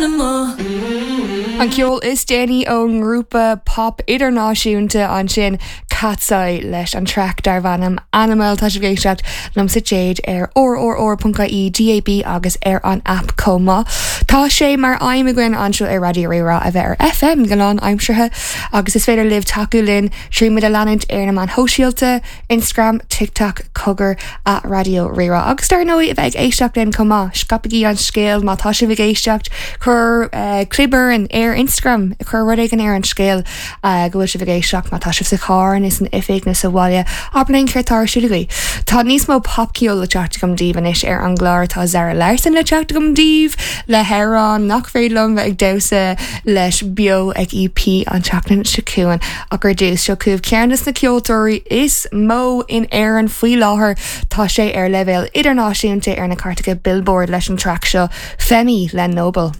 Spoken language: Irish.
An ceol is déanaí ón ngrúpa pop idirnáisiúnta ansin, Katseye, leis an traic darb ainm Animal. Tá sibh ag éisteacht liomsa Jade ar rrr.ie, DAB agus ar an aip chomh maith. Tá sé mar aidhm againn anseo ar Raidió Rí-Rá a bheith ar FM go lánaimseartha agus is féidir libh tacú linn muid a leanúint ar na meáin shóisialta, Instagram, TikTok, cogar, at Raidió Rí-Rá. Agus dar ndóigh, a bheith ag éisteacht linn chomh maith, scaipigí an scéal má tá sibh ag éisteacht, cuir clib orainn ar Instagram, cuir rud éigin ar an scéal go bhfuil sibh ag éisteacht má tá sibh sa charr nó san oifig nó sa bhaile, abair linn céard atá ar siúl agaibh. Tá níos mó popcheoil le teacht agam daoibh anois ar an gclár, tá Zara Larsson le teacht agam daoibh le hamhrán nach féidir liom bheith ag damhsa leis beo ag EP an tseachtain seo chugainn. Ach ar dtús, seo chugaibh ceann de na ceoltóirí is mó in Éirinn faoi láthair. Tá sé ar leibhéal idirnáisiúnta ar na cairteacha Billboard leis an traic seo, Femi le Noble.